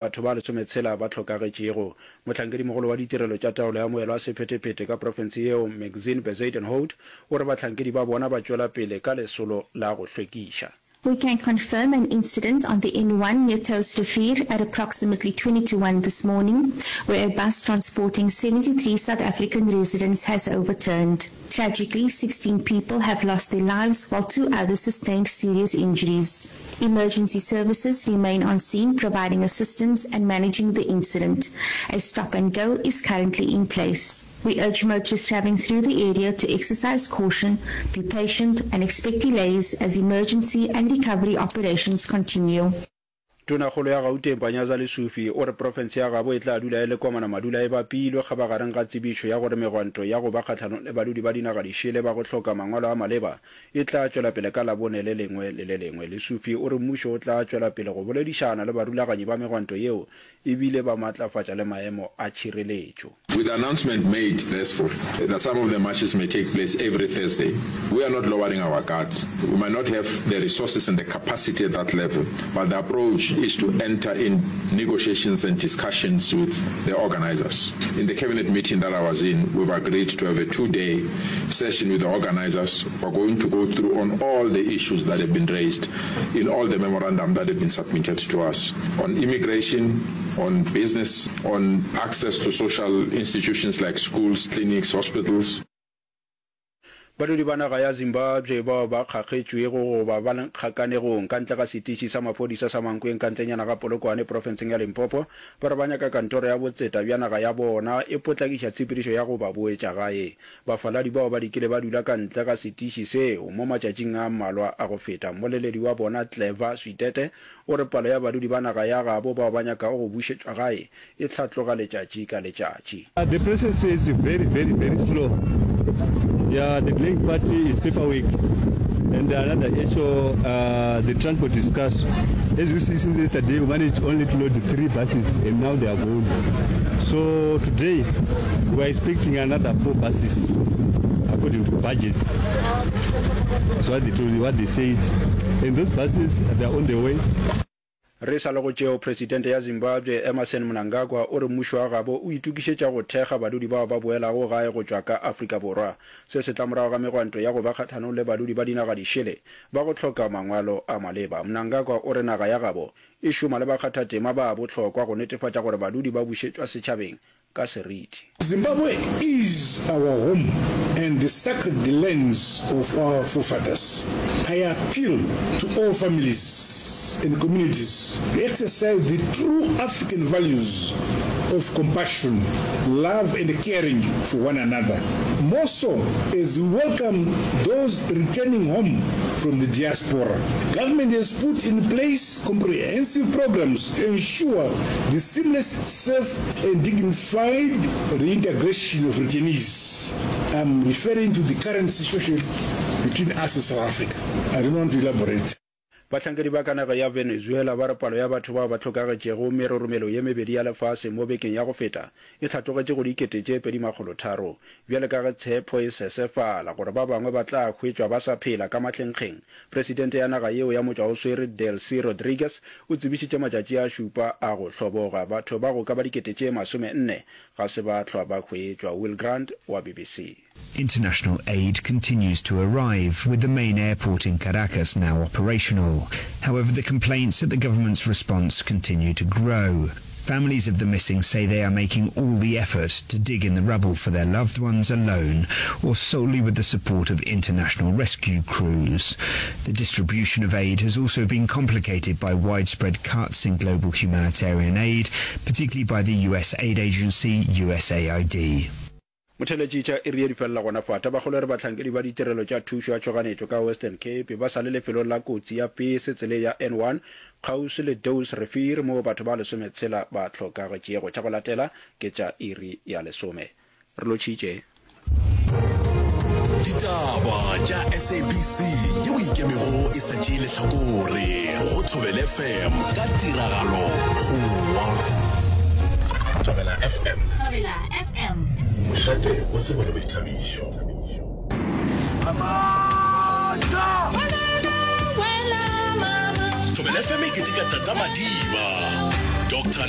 Batho ba lesometshela ba hlokagetšego. Mohlankedimogolo wa ditirelo tša taolo ya moelo wa sephetephete ka profense yeo, Maxine Bezuidenhout, o re bahlankedi ba bona ba tšwela pele ka lesolo la go hlwekiša. We can confirm an incident on the N1 near Touwsrivier at approximately 20 to 1 this morning, where a bus transporting 73 South African residents has overturned. Tragically, 16 people have lost their lives while two others sustained serious injuries. Emergency services remain on scene providing assistance and managing the incident. A stop and go is currently in place. We urge motorists traveling through the area to exercise caution, be patient and expect delays as emergency and recovery operations continue. Tonakgolo ya Gauteng Panyaza Lesufi o re profense ya gabo e tla dula e le komana madula e bapilwe kgabagareng ga tsebišo ya gore megwanto ya go ba kgahlanong le badudi ba dinaga dišele ba go hloka mangwalo a maleba e tla tšwela pele ka Labone le lengwe le le lengwe. Lesufi o re mmušo o tla tšwela pele go boledišana le barulaganyi ba megwanto yeo e bile ba matlafatša le maemo a tšhireletšo. With the announcement made therefore that some of the marches may take place every Thursday, we are not lowering our guards. We might not have the resources and the capacity at that level, but the approach is to enter in negotiations and discussions with the organisers. In the cabinet meeting that I was in, we've agreed to have a two-day session with the organisers. We're going to go through on all the issues that have been raised in all the memorandum that have been submitted to us on immigration, on business, on access to social institutions like schools, clinics, hospitals. Badudi ba naga ya Zimbabwe bao ba kgakgetšwego goba ba le kgakanegong ka ntle ga setiši sa maphodisa sa Mankweng ka ntlenyana ga Polokwane profenseng ya Limpopo ba re ba nyaka kantoro ya botseta bja naga ya bona e potlakiša tshepedišo ya go ba boetša gae. Bafaladi bao ba dikile ba dula ka ntle ga setiši seo mo matšatšing a mmalwa a go feta. Mmoleledi wa bona Clever Switete O re palo ya badudi ba naga ya gabo bao ba nyakago go bušetšwa gae e hlatloga letšatši ka letšatši. The process is very very very slow yeah the delaying party is paper work and another issue uh, the transport is scarce as you see since yesterday we managed only to load three buses and now they are gone so today we are expecting another four buses according to budget that's what they told what they said and those buses they are on the way Re sa le go tšeo, Presidente ya Zimbabwe Emmerson Mnangagwa o re mmušo wa gabo o itokišetša go thekga badudi bao ba boelago gae go tšwa ka Afrika Borwa. Se se tla morago ga megwanto ya go ba kgahlanong le badudi ba dinaga dišele ba go hloka mangwalo a maleba. Mnangagwa o re naga ya gabo e šoma le bakgathatema ba bohlokwa go netefatša gore badudi ba bušetšwa setšhabeng ka seriti. Zimbabwe is our home and the sacred lands of our forefathers. I appeal to all families and communities to exercise the true African values of compassion, love and caring for one another, more so as we welcome those returning home from the diaspora. Government has put in place comprehensive programs to ensure the seamless, safe and dignified reintegration of returnees. I'm referring to the current situation between us and South Africa. I don't want to elaborate. Bahlankedi ba ka naga ya Venezuela ba re palo ya batho bao ba hlokagetšego meroromelo ye mebedi ya lefase mo bekeng ya go feta e hlatlogetše go 2300. Bjale ka ge tshepho e sesefala gore ba bangwe ba tla hwetšwa ba sa phela ka mahlenkgeng, presidente ya naga yeo ya motšwaoswere Delcy Rodriguez o tsebišitše matšatši a šupa a go hloboga. Batho ba go ka ba 40,000 ga se ba hlwa ba hwetšwa. Will Grant wa BBC. International aid continues to arrive, with the main airport in Caracas now operational. However, the complaints at the government's response continue to grow. Families of the missing say they are making all the effort to dig in the rubble for their loved ones alone or solely with the support of international rescue crews. The distribution of aid has also been complicated by widespread cuts in global humanitarian aid, particularly by the US aid agency USAID. Motheeletši tša iri ye di felela gona fa. Tabakgolo e re bahlankedi ba ditirelo tša thušo ya tšhoganetšo ka Western Cape ba sa le lefelong la kotsi ya pese tseleng ya N1 kgauswi le Douws Rivier moo batho ba lesometshela ba hlokagetšego. Tša go latela ke tša iri ya lesome. Re lotšhitše. Ditaba tša SABC yeo e ikemego e sa tšee lehlakore go Thobela FM ka tiragalo Goa. Thobela FM. Thobela FM. Mošate wa tsebo le boithabišo. Thobela FM e keteka Tata Madiba. Doctor.